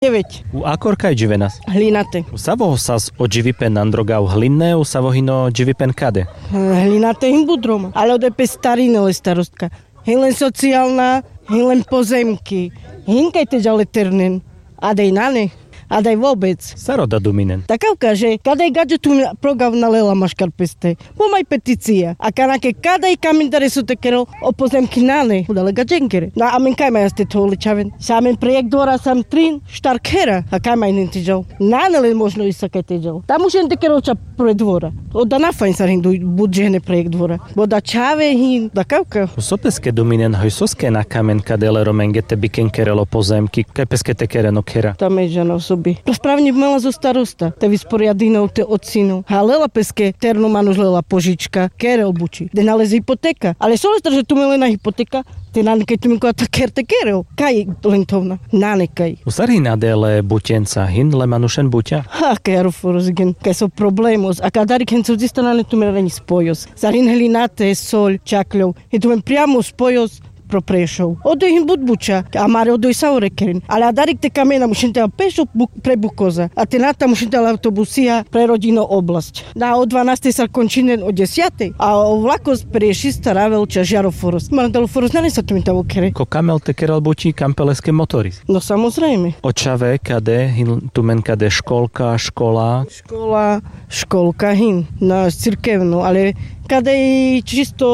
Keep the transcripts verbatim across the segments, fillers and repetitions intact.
Deveť. U akor kaj dživenas? Hlinate. U savo sas o dživipen androgav, hlinné, u savo hin o dživipen kade? Hlinate hin but roma, ale odoj pe starine le starostka. Hin len socijalna, hin len pozemki. Hin kaj te džal le ternen. A daj nane, a daj vobec. Sar oda duminen? Dakavka, že kadaj gaďo tumen progav na lela maškar peste. Bo maj peticija. A kana ke kadaj kamen dare so te kerel o pozemki nane, oda le gaďenkere. Na amen kaj maj aste to le čhaven. Sa amen projekt dvora sam trin štar khera. A kaj maj nen te džal. Nane len možno isa kaj te džal. Tam mušen te kerel ča pre dvora. Oda na fajn sar hin but džehne projekt dvora. Bo da čhave hin, dakavka. So peske duminen hoj, soske na kamen kade le romenge te biken kerel o pozemki, kaj peske te keren o khera? Ta me džana osobi. Spravne mela zo starosta te visporjadinel te ocino. Ha lela peske terno manuš lela požička, kerel buči. De nalezi hipoteka. Ale so le star že tumen lena hipoteka, te nane kaj tumen kova ta kher te kerel. Kaj len thovna? Nane kaj. U sar hin ade le buťenca, hin le manušen buťa? Ha, kaj aroforos gen, kaj so problemos, a kadarik hen so dži strane tumen ani spojos. Sar hin hlinate, soľ, čakľov. Hin tumen priamo spojos pro Prešov. Odoj hin but buča, amare odoj sa ore keren. Ale adarik te kamena mušen te pešo pre Bukoza. A te nata mušen te autobusija pre rodino oblasť. Na o dvanastej sar končinen o desiatej, a o vlakos pre šista ravel ča Žaroforos. Mardalo foros nane sa tumen tavo kere. Ko kamel te kerel buči, kampeleske motoris? No, samozrejme. O čhave kade hin tumen, kade školka, škola? Škola, školka hin, na cirkevno, ale kade i čisto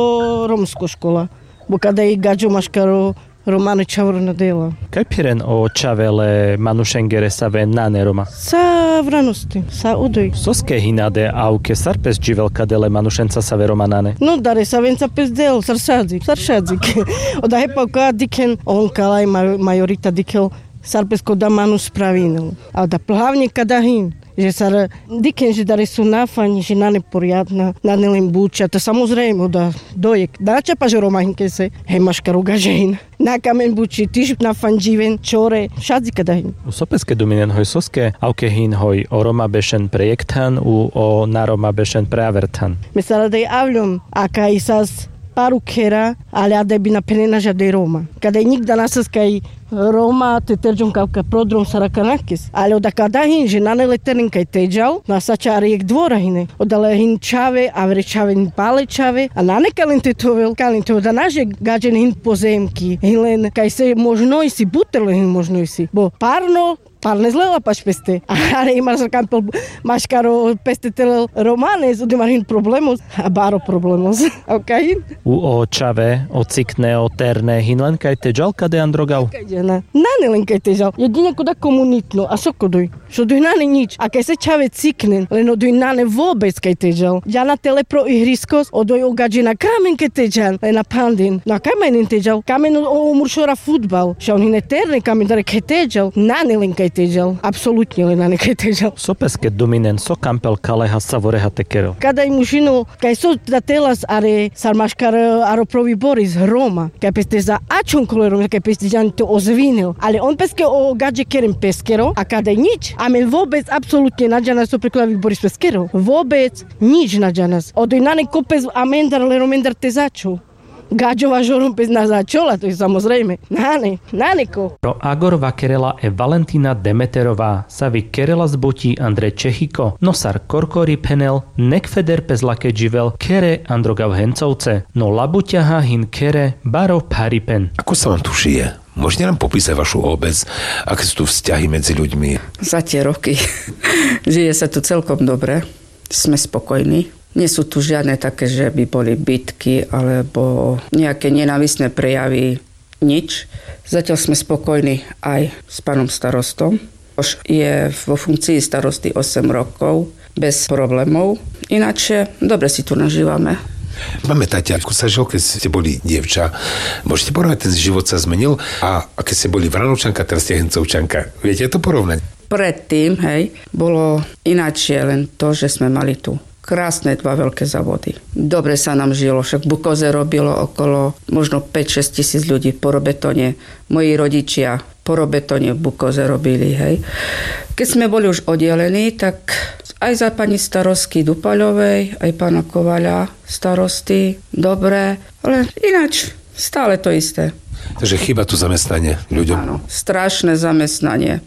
romsko škola. Bo kade i gaďo maškaro romane čhavoro na dela. Kaj phiren o čhave le manušengere save nane Roma? Sa vranosti, sa odoj. Soske hin ade avke, sar pes dživel kade le manušenca save Roma nane? No, dare savenca pes del, sar šadzik, sar šadzik. Oda hepa ka dikhen, on kalaj ma-, majorita dikhel, sar pes koda manuš spravinel. A da hlavne kada hin, že sar dikhen, že dare so na fajn, že nane porjadna, nane len buča, ta samozrejme, oda dojek. Da čapaš o Roma hin kaj se, he maškar o gaďe hin. Na kamen buči, tiš na fajn dživen, čore, šadzik kada hin. U so peske duminen hoj, soske avke hin hoj, o Roma bešen projekt than, u o na Roma bešen pre aver than? Me sar adaj avľom, a kaj sas paru khera, ale adaj bi na phenena žadaj Roma. Kadaj nikda na sas kaj Roma te terďon kavka prodrom sar akanakes. Ale oda kada hin, že nane le teren kaj te džal, na sa ča ari jek dvora hine. Oda le hin čhave, avere čhave, pale čhave, a nane ka len te thovel, ka len te oda na že gaďen hin pozemki, hin len kaj se možno isi, buter len hin možno isi. Bo parno, parnes lela paš peste. Ale i maškar kampel, maškaro peste te lel Romanes, odoj mar hin problemos, a baro problemos. A kaj hin? U o čhave, o cikne, o terne, hin len kaj te džal kade androgav? Kaj džana. Nane len kaj te džal. Jedine koda komunitno, a so kodoj? So odoj nane nič. A kaj se čhave ciknen, len odoj nane vobec kaj te džal. Džana te le pro ihriskos, odoj o gaďe na kamen kaj te džan, len na phanden. Na kaj maj nen te džal? Kamen o, o muršora fudbal. Šaj on hine terne, kamen dare kaj te džal. Nane len kaj te džal. Apsolutne len nane kaj te džal. So peske duminen, so kampel kaleha, savoreha te kerel? Kadaj mušino, kaj so da telas are, sar maškar aro pro viboris, Roma. Kaj peste za ačhon kole Roma, kaj peste džan te ozvinel. Ale on peske o gaďe keren peskero, a kadaj nič. Amen vobec, apsolutne na džanas so pre kola viboris peskero. Vobec nič na džanas. Odoj nane ko pes amendar le Romendar te začhol. Gaďo važo Rom pes na začhol, a to i samozrejme. Nane, nane ko. Pro Agor vakerela e Valentina Demeterová, savi kerela zbuti andre Čehiko, no sar korkori phenel, nek feder pes lake dživel khere androgav Hencovce, no labuťaha hin khere baro pharipen. Ako sa vam tu žije? Môžete nám popísať vašu obec? Aké sú tu vzťahy medzi ľuďmi? Za tie roky žije sa tu celkom dobre. Sme spokojní. Nie sú tu žiadne také, že by boli bitky, alebo nejaké nenávistné prejavy. Nič. Zatiaľ sme spokojní aj s pánom starostom. Už je vo funkcii starosty osem rokov bez problémov. Ináč, dobre si tu nažívame. Pamätáte, ako sa žilo, kedy ste boli dievča? Môžete porovnať, ten život sa zmenil? A, a kedy ste boli Vranovčanka, teraz ste Hencovčanka. Viete to porovnať? Predtým, hej, bolo ináčie len to, že sme mali tu krásne dva veľké závody. Dobre sa nám žilo, však v Bukoze robilo okolo možno päť šesť tisíc ľudí po Robetone. Moji rodičia po Robetone v Bukoze robili, hej. Kedy sme boli už oddelení, tak aj za pani starostky Dupaľovej, aj pána Kovaľa starosty, dobre, ale ináč stále to isté. Że chyba tu zamestnanie ludziom. Straszne zamestnanie.